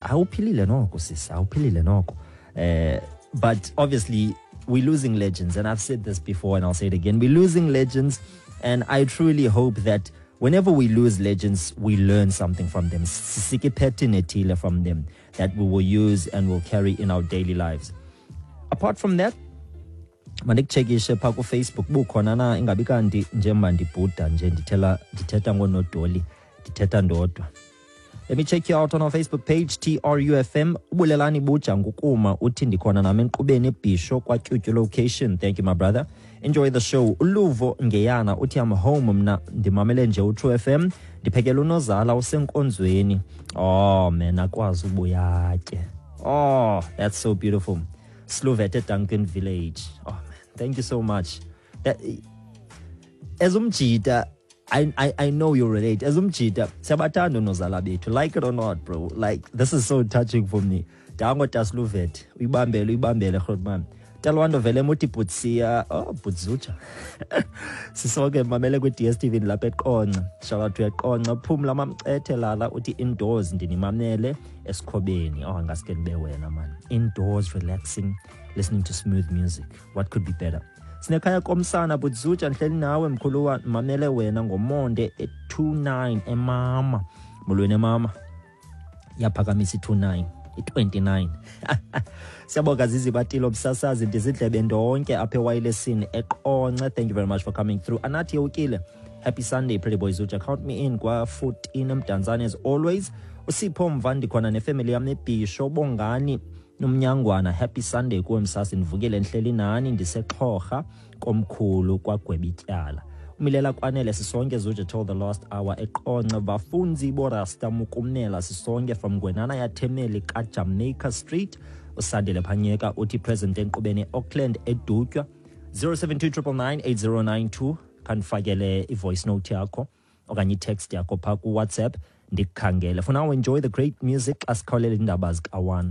Awuphilile noko sisi, awuphilile noko. But obviously we're losing legends, and I've said this before and I'll say it again. We're losing legends, and I truly hope that whenever we lose legends, we learn something from them. Sisike pattern ethile from them that we will use and will carry in our daily lives. Apart from that, mandikuchekishe phaa kuFacebook bukhona na, ingabi kanti njengoba ndibhuda nje ndithela ndithetha ngoonodoli, ndithetha ndodwa. Let me check you out on our Facebook page, TRUFM. Ubulelani Buja ngukuma uthi ndikhona nami enkqubeni eBhisho kwaTyutyu location. Thank you, my brother. Enjoy the show. Uluvo Ngeyana uthi I'm home mna, ndimamele nje uTru FM. Ndiphekela unozala usenkonzweni. Oh man, akwazi ubuyatye. Oh, that's so beautiful. Sluvete Duncan Village. Oh man, thank you so much. That, as umjita, I know you relate. As umjita, siyabathanda unozala bethu. Like it or not, bro. Like, this is so touching for me. Dango Tasluvet. Uyibambele, uyibambele, Grootman. Talwando vele muthi butsia, oh, butzucha. Sisonke mamele kwi DStv lapha eQonce. Shout out to eQonce. Phumla mamcethe lala uthi indoors ndinimamele esikhobeni. Oh, ngaske ndibe wena man. Indoors relaxing, listening to smooth music. What could be better? Sinekhaya komsana butzucha, ndihleli nawe mkhuluwa, mamele wena ngomonde e29 emama. Molweni emama. Yaphakamisa i-29, i-29. Siyabonga Zizi Batilo msasazi, ndizidlebe ndonke apha ewayilesini eQonce. Thank you very much for coming through. Anathi Yewukile, happy Sunday, pretty boy Zuja, count me in kwa-14 eMdantsane as always. Usipho Mva, ndikhona nefemeli yam eBhisho. Bongani Nomnyangwana, happy Sunday kuwe msasi, ndivukile ndihleli nani, ndisexhorha komkhulu kwagweba ityala. Umilela Kwanele, sisonke Zuja till the last hour eQonce. Bafunzi borasta mukumnela, sisonke from Ngwenana yaThemeli kaJamaica Street. Usandile Phanyeka uthi present enkqubeni eAuckland eDutywa. 072 khandifakele i-voice note yakho okanye i-text yakho phaa kuWhatsApp ndikukhangele. For now, enjoy the great music xa sikhawulela iindaba zika-1.